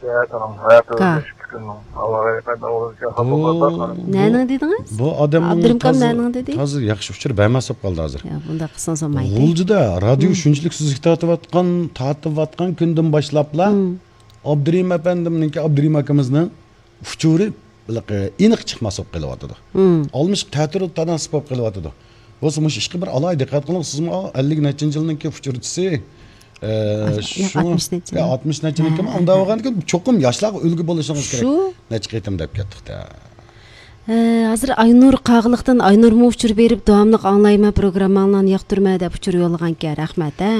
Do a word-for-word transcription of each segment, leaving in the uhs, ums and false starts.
ھەتەنىڭ ھاياتى كا. ئۆزگىرىشىپ كېتىدۇ. ئاۋارە يىقىتىڭ ئۇرۇشى بۇ، خاپا بولسا، قارىماڭ. بۇ نەنىڭ دېدىڭىز؟ بۇ ئادەمنىڭ ئابدۇرېھىم كام تازا، نەنىڭ دېدى؟ تازا ياخشى ئۇچۇر بەرمەس بولۇپ قالدى ھازىر. يا، بۇنداق قىلسىڭىز بولمايدۇ. غۇلجىدا رادىيو مم. شۇنچىلىك سۈزۈك تارتىۋاتقان، تارتىۋاتقان كۈندىن باشلاپلا مم. ئابدۇرېھىم ئەپەندىمنىڭكى، ئابدۇرېھىم ئاكىمىزنىڭ ئۇچۇرى ھېلىقى ئېنىق چىقماس بولۇپ قېلىۋاتىدۇ. مم. ئالمىشىپ تەتۈر تاناسىپ بولۇپ قېلىۋاتىدۇ. بولسا مۇشۇ ئىشقا بىر ئالاھىدە دىققەت قىلىڭ، سىزمۇ ئەللىك نەچچىنچى يىلنىڭكى ئۇچۇرچىسى. ئە، ياق، شۇ، ئاتمىش نەچچە يا، يىل. ئاتمىش نەچچە يىل ئىكەن. ھە، ئۇنداق ھە. بولغاندىكىن چوقۇم ياشلارغا ئۈلگە بولۇشىڭىز كېرەك. شۇ. نەچچە قېتىم دەپ كەتتۇق-تە. ئە، ھازىر ئاينۇر قاغىلىقتىن، ئاينۇرمۇ ئۇچۇر بېرىپ، داۋاملىق ئاڭلايمەن، پروگرامماڭلارنى ياقتۇرىمەن دەپ ئۇچۇر يوللىغانىكەن. رەھمەت، ھە.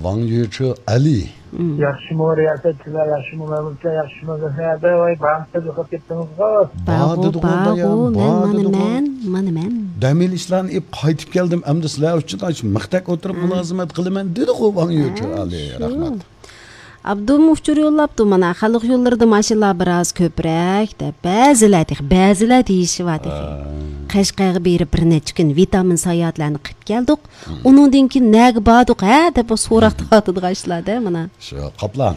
ۋاڭ يۈچۈ ئەلى. مم. ياخشىمۇ رىياسەتچىلەر، ياخشىمۇ مەمۇرچىلەر، ياخشىمۇ زەھەردە، ۋاي، بارمۇ سىز يوقاپ كەتتىڭىزغۇ؟ بار بار دېدىغۇ، بار بايام، بۇ، مەن، بار مانا دېدىغۇ. مەن، مانا مەن. دەم ئېلىشلارنى ئېلىپ قايتىپ كەلدىم، ئەمدى سىلەر ئۈچۈن ئاشۇ مىختەك ئولتۇرۇپ مم. مۇلازىمەت قىلىمەن دېدىغۇ، ۋاڭ يۈچۈ ھە، ئەلى. شۇ. رەھمەت. ئابدۇممۇ ئۇچۇر يوللاپتۇ، مانا، خەلق يوللىرىدا ماشىنىلار بىراز كۆپرەك دەپ، بەزىلەر تېخى، بەزىلەر دېيىشىۋاتىدۇ. ھە. قەشقەرگە بېرىپ بىر نەچچە كۈن ۋىتامىن ساياھەتلەرنى قىلىپ كەلدۇق. مم. ئۇنىڭدىن كېيىن نەگە باردۇق، ھە، دەپ سوراق تارتىدىغان ئىشلار-دە، مانا. شۇ، قاپلان.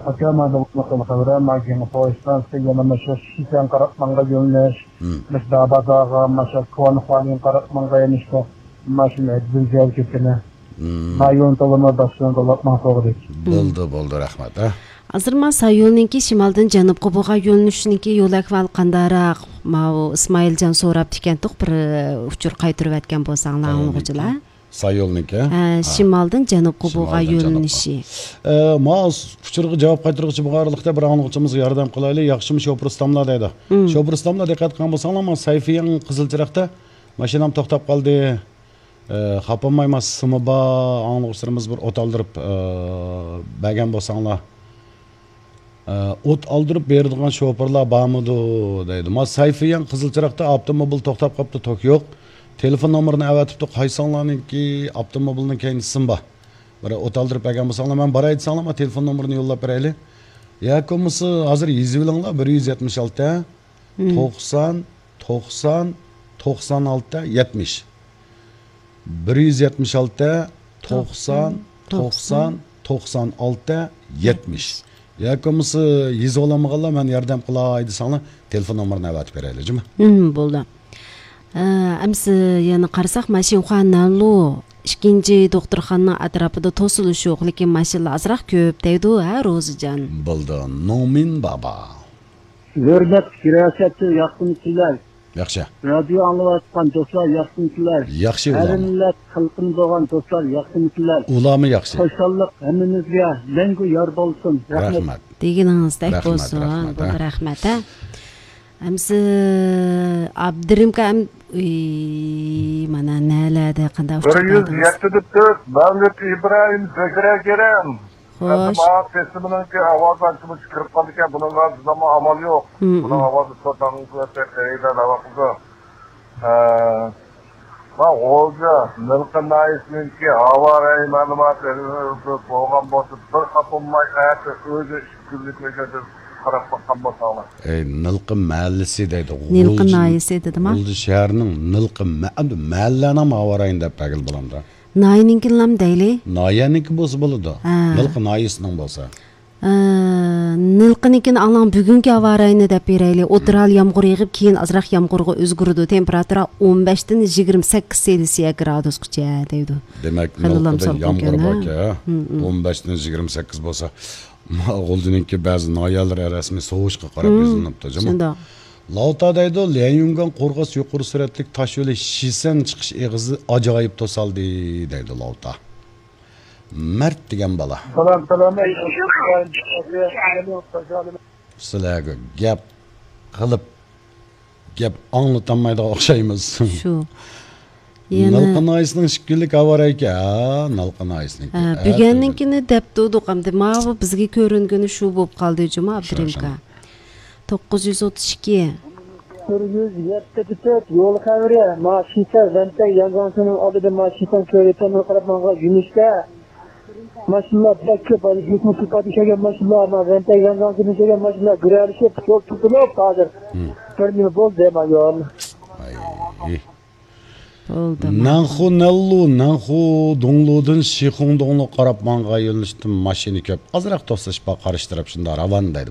ئاكا، مانا بۇ خەۋەر، مانا كېيىنكى پويىزدىن سىز يەنە مۇشۇ شىشەن قاراپ ماڭغان يۆنىلىش، مم. مۇشۇ داباداغا، مۇشۇ كونا خۇالىنغا قاراپ ماڭغان يۆنىلىشكە، ماشىنا ھەددىدىن زىيادە كەتكىنى. مم. ما يولنى تولىماي، باشقا يولنى تولاتماڭ، توغرا. بولدى، بولدى، رەھمەت، ھە. ھازىر ما سايولنىڭكى شىمالدىن جەنۇبقا بولغان يۆنىلىشنىڭكى يول ئەھۋالى قانداقراق؟ ماۋۇ ئىسمائىلجان سوراپتىكەنتۇق، بىر، ئۇچۇر قايتۇرۇۋەتكەن بولساڭلار، ئاڭلىغۇچىلار. سايولنىڭكى؟ ھە، ھە. شىمالدىن جەنۇبقا بولغان شىمالدىن جەنۇبقا. يۆنىلىشى. ئە، ما ئۇچۇرغا جاۋاب قايتۇرغۇچى بولغان ئارىلىقتا بىر ئاڭلىغۇچىمىزغا ياردەم قىلايلى. ياخشىمۇ شوپۇر ئۇستاملار دەيدۇ. مم. شوپۇر ئۇستاملار دىققەت قىلغان بولساڭلار، ما سەيفىيەڭ قىزىل چىراغدا ماشىنام توختاپ قالدى. ئە، خاپا بولماي، ما سىمى بار ئاڭلىغۇچىلىرىمىز بىر ئوت ئالدۇرۇپ، ئە، بەرگەن بولساڭلار. ئە، ئوت ئالدۇرۇپ بېرىدىغان شوپۇرلار بارمىدۇ دەيدۇ. ما سەيفىيەن قىزىل چىراغدا ئاپتوموبىل توختاپ قاپتۇ، توك يوق. تېلېفون نومۇرىنى ئەۋەتىپتۇ، قايسىڭلارنىڭكى ئاپتوموبىلنىڭ كەينىدە سىم بار. بىر ئوت ئالدۇرۇپ بەرگەن بولساڭلار، مەن باراي دېسەڭلار، ما تېلېفون نومۇرىنى يوللاپ بېرەيلى. ياكى بولمىسا ھازىر يېزىۋېلىڭلار، بىر يۈز يەتمىش ئالتە، مم. توقسان، توقسان، توقسان ئالتە، يەتمىش. بىر يۈز يەتمىش ئالتە، توقسان، توقسان، توقسان، توقسان ئالتە، يەتمىش. ياكى بولمىسا يېزىۋالالمىغانلار، مەن ياردەم قىلاي دېسەڭلار، تېلېفون نومۇرىنى ئەۋەتىپ بېرەيلى، جۇمۇ. ھىم، بولدى. ئە، ئەمسە يەنە قارىساق، ماشىنخۇا نەنلۇ ئىككىنچى دوختۇرخانىنىڭ ئەتراپىدا توسۇلۇش يوق، لېكىن ماشىنىلار ئازراق كۆپ دەيدۇ، ھە، روزىجان؟ بولدى، نومىن بابا. ھۆرمەتلىك رىياسەتچى، ياخشىمۇسىلەر؟ ياخشى. رادىيو ئاڭلاۋاتقان دوستلار، ياخشىمۇسىلەر؟ ياخشى، ھەر ئۇلارمۇ. مىللەت خەلقىمىز بولغان دوستلار، ياخشىمۇسىلەر؟ ئۇلارمۇ ياخشى. خۇشاللىق ھەممىمىزگە مەڭگۈ يار بولسۇن. رەھمەت. رەھمەت. دېگىنىڭىزدەك رەھمەت، بولسۇن. رەھمەت، بولدى، ھە. رەھمەت، ھە. ئەمسە ئابدۇرېھىم ئاكا، ئەم-، ئۇي، مانا نەلەردە قانداق بىر ئۇچۇر يۈز بەردىڭىز؟ يەتتە پۈتۈن تۆت، مەۋلۇت ئىبراھىم، زۆھرە كېرەم. خوش. ئەمدى ماڭا تېسىمنىڭكى ئاۋازى ئانچە-مۇنچە كىرىپ قالىدىكەن، بۇنىڭغا زادىمۇ ئامال يوق. مم، بۇنىڭ مم. ئاۋازى سوتاڭ قىلىۋەتسەك، خېرىدار نېمە قىلىدۇ؟ ھە، ما غۇلجا، نىلقا ناھىيەسىنىڭكى ھاۋا رايى مەلۇماتى بولغان بولسا، بىر خاپا بولماي، ئەتە ئۆزى ئىككى كۈنلۈك مەيداندا قاراپ باققان بولساڭلار. ئەي، نىلقا مەھەللىسى دەيدۇ. نىلقا غۇلجا، ناھىيەسى دېدىما؟ غۇلجا شەھىرىنىڭ نىلقا مە-، ئەمدى مەھەللەرنىڭ ھاۋا رايىنى دەپ بەرگىلى بولامدۇ؟ ناھىيەنىڭكىنىلام دەيلى. ناھىيەنىڭكى بولسا بولىدۇ. ھە. نىلقا ناھىيەسىنىڭ بولسا. ئە، نىلقىنىڭكىنى ئاڭلاڭ، بۈگۈنكى ھاۋا رايىنى دەپ بېرەيلى. ئوتتۇرا ھال يامغۇر يېغىپ، كېيىن ئازراق يامغۇرغا ئۆزگىرىدۇ. تېمپېراتۇرا ئون بەشتىن يىگىرمە سەككىز سېلسىيە گرادۇسقىچە دەيدۇ. دېمەك، خېلىلا نىلقىدا سالقىن يامغۇر كەن، ھە؟ باركەن، ھە؟ ھىم، ھىم. ئون بەشتىن يىگىرمە سەككىز بولسا، ما-، غۇلجىنىڭكى بەزى ناھىيەلىرى رەسمىي سوۋۇشقا قاراپ ھىم، يۈزلىنىپتۇ، جۇمۇ. شۇنداق. لاۋتا دەيدۇ، ليەنيۈنگەن قورغاس يۇقىرى سۈرئەتلىك تاش يولى شىسەن چىقىش ئېغىزى ئاجايىپ توسالدى دەيدۇ لاۋتا. مەرت دېگەن بالا. سالام، سالام. سىلەرگە گەپ قىلىپ، گەپ ئاڭلىتالمايدىغان ئوخشايمىز. شۇ. يەنە نالقا ناھىيەسىنىڭ ئىككى كۈنلۈك ھاۋا رايى ئىكەن. ھە، نالقا ناھىيەسىنىڭكى. ھە، ھە، بۈگۈننىڭكىنى دەپ تۇردۇق، ئەمدى ماۋۇ بىزگە كۆرۈنگىنى شۇ بولۇپ قالدى جۇمۇ، شۇ، ئابدۇرېھىم شۇ. ئاكا. توققۇز يۈز ئوتتۇز ئىككى. بىر يۈز يەتتە تۆت يول خەۋىرى، ما شىسەن ۋەنتەي يانزاڭسىنىڭ ئالدىدا ما شىسەن كۆۋرۈكىنىڭ قاراپ ماڭغان يۆنىلىشتە ماشىنىلار بەك كۆپ، ھازىر يۈكمۇ كىپادە كەلگەن ماشىنىلار، ما ۋەنتەي يانزاڭسىنىڭ كەلگەن ماشىنىلار گۈرەلىشىپ، يول توسۇلۇپ ھازىر. ھىم. بىر نېمە بولدى، ما يول. ئاي. بولدى، ماقۇل. نەنخۇ نەنلۇ، نەنخۇ دۇڭلۇدىن شىخۇڭ دۇڭلۇغا قاراپ ماڭغان يۆنىلىشتە ماشىنا كۆپ. ئازراق توسۇلۇش بار، قارشى تەرەپ شۇنداق راۋان دەيدۇ بۇ